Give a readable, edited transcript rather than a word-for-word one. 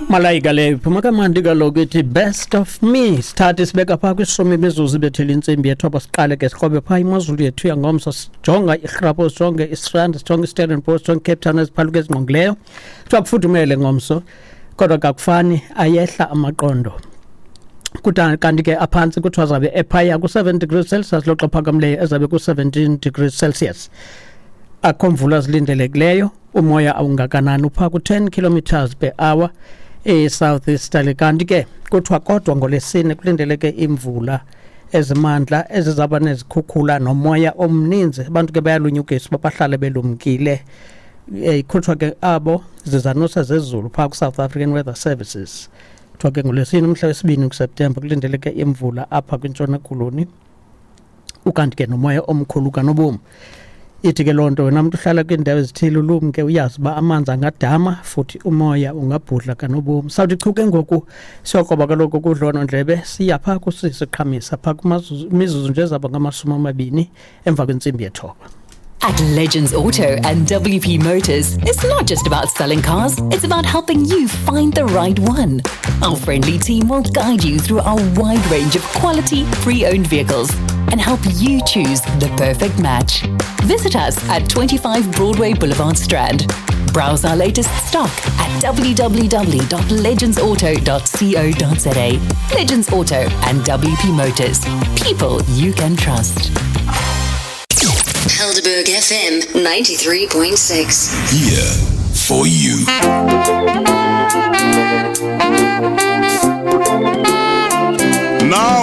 Malayika leyo iphuma kamandi kaloku, ithi "Best of Me". Sithathe sibeka phaa kwishumi imizuzu ibethele intsimbi yethoba. Siqale ke sikrobe phaa imozulu yethu yangomso, sijonga iRhapo, sijonge iStrand, sijonge iStellenbosch, sijonge iCape Town, eziphaluka ezingqongileyo. Kuthiwa kufudumele ngomso, kodwa kakufani ayehla amaqondo. Kuta kanti ke aphantsi kuthiwa zabe ephaya ku-7 degrees Celsius, loxa phakamileyo ezabe ku-17 degrees Celsius. Akho mvula zilindelekileyo. Umoya awungakanani, uphaa ku-10 kilometers per hour e-south easterly. Kanti ke kuthiwa kodwa ngolwesine kulindeleke imvula ezimandla ezizaba nezikhukhula nomoya omninzi. Abantu ke bayalunyukiswa uba bahlale belumkile. Ikhutshwa ke abo zizanusa zezulu phaa ku-South African Weather Services. Kuthiwa ke ngolwesine umhla wesibini kuSeptemba kulindeleke imvula apha kwiNtshona Koloni, ukanti ke nomoya omkhulu kanobomi. Ithi ke loo nto wena mntu uhlala kwiindawo ezithile ulumke, uyazi uba amanzi angadama futhi umoya ungabhudla kanobomi. Sawuthi chu ke ngoku siyokroba kaloku kudlonondlebe, siya phaa kusisiqhamisa phaa kumizuzu nje ezaba ngama-20 emva kwentsimbi yethoba. At Legends Auto and WP Motors, it's not just about selling cars, it's about helping you find the right one. Our friendly team will guide you through our wide range of quality, pre owned vehicles and help you choose the perfect match. Visit us at 25 Broadway Boulevard, Strand. Browse our latest stock at www.legendsauto.co.za. Legends Auto and WP Motors. People you can trust. Helderberg FM 93.6. Here for you. Now